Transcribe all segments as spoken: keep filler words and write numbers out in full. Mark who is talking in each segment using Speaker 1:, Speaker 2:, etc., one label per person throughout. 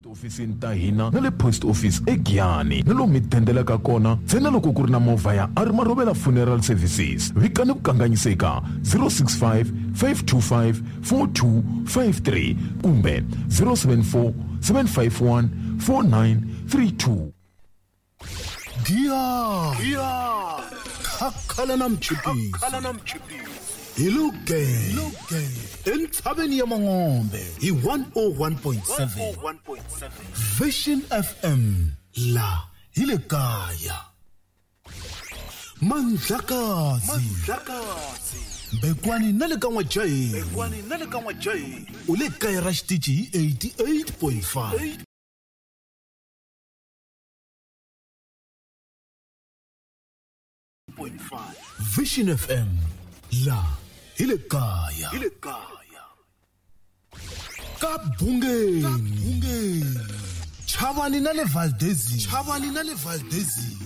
Speaker 1: Tiofisini ta hina na le post office eGiyani na lomu mi dendelaka kona ntsena loko ku ri na movha ya a ri Marobela Funeral Services. Vikani vukanganyisi eka zero six five five two five four two five three kumbe zero seven four seven five one four nine three two.
Speaker 2: Giya khakhala na mchipisi hi Lugenge entshaveni ya Mangombe hi one oh one point seven Vision F M la hi le kaya. Mandlakazi Bekwani na le ka N'wajahi u le kaya ra xitichi hi eighty-eight point five. Vision F M la hi le kaya. Ka Bungeni Chavani na le Valdezi Chavani na le Valdezi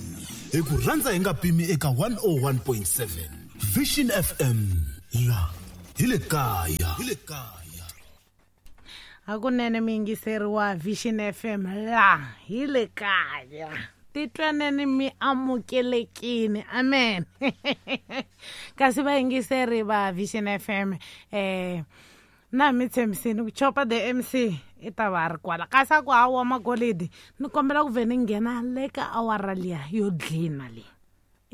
Speaker 2: hi ku rhandza hi nga pimi eka one oh one point seven Vision F M la hi le kaya. Hi le kaya.
Speaker 3: Hakunene mi yingiseriwa Vision F M la hi le kaya. Titwaneni mi amukelekini, amen. Kasi vayingiseri va Vision F M eh na mi tshembisini ku Chopa the M C i ta va ri kwala kasi a ku hawa magolidi ni kombela ku ve ni nghena le ka awara liya yo dlina leyi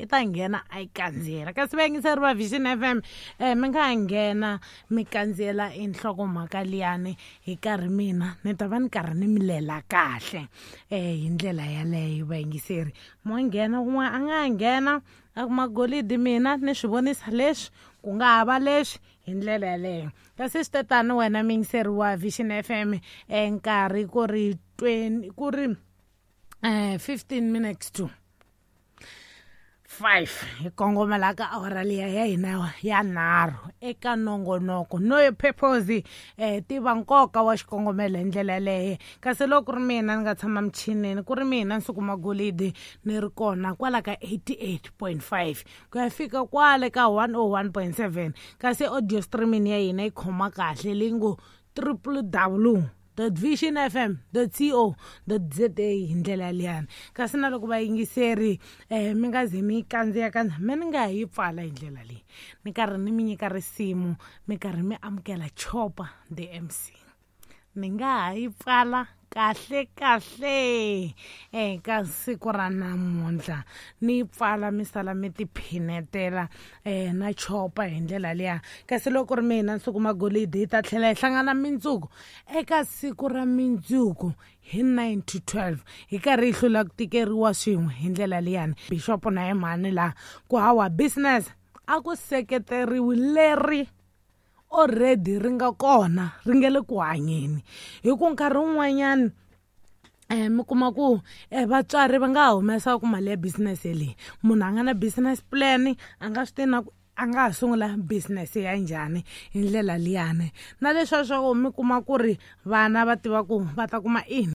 Speaker 3: i ta nghena a yi kandziyela. Kasi vayingiseri va Vision F M eh mi nga nghena mi kandziyela enhlokomhaka liyani hi karhi mina ni ta va ni karhi ni mi lela kahle eh hi ndlela yaleyo vayingiseri. Mo nghena un'wana a nga nghena a ku magolidi mina ni swi vonisa leswi ku nga ha va leswi hi ndlela yaleyo. Kasi swi tatani wena muyingiseri wa Vision F M eh nkarhi ku ri twenty ku ri eh fifteen minutes to five hi kongomela ka awara liya ya hina ya nharhu eka nongonoko no yo purpose eh tiva nkoka wa xikongomelo hi ndlela yaleyo. Kasi loko ku ri mina ni nga tshama michinini ku ri mina Nsuku Magolidi ni ri kona kwala ka eighty-eight point five ku ya fika kwale ka one oh one point seven. Kasi audio streaming ya hina yi khoma kahle leyi ngo triple W dot vision f m dot co dot z a hi ndlela liyani. Kasi na loko vayingiseri eh mi nga ze mi kandziya kandziya mi ni nga yi pfala hi ndlela leyi ni karhi ni mi nyika risimu mi karhi mi amukela Chopa the M C. Ni nga ha yi pfala kahle kahle eh ka siku ra namuntlha ni yi pfala mi sala mi tiphinetela eh na Chopa hi ndlela liya. Kasi loko ri mina Nsuku Magolidi hi ta tlhela hi hlangana mindzuku eka siku ra mindzuku hi nine to twelve hi karhi hi hlula ku tikeriwa swin'we hi ndlela liyani. Bishop na ye mhani laha ku hawa business a ku seketeriwi leri already ri nga kona ri nge le ku hanyeni hi ku nkarhi wun'wanyani eh mi kuma ku eh vatswari va nga humesa ku mali ya business leyi munhu a nga na business plan a nga swi tivi na ku a nga ha sungula business ya njhani hi ndlela liyani. Na leswiya swa ku mi kuma ku ri vana va tiva ku va ta kuma ini.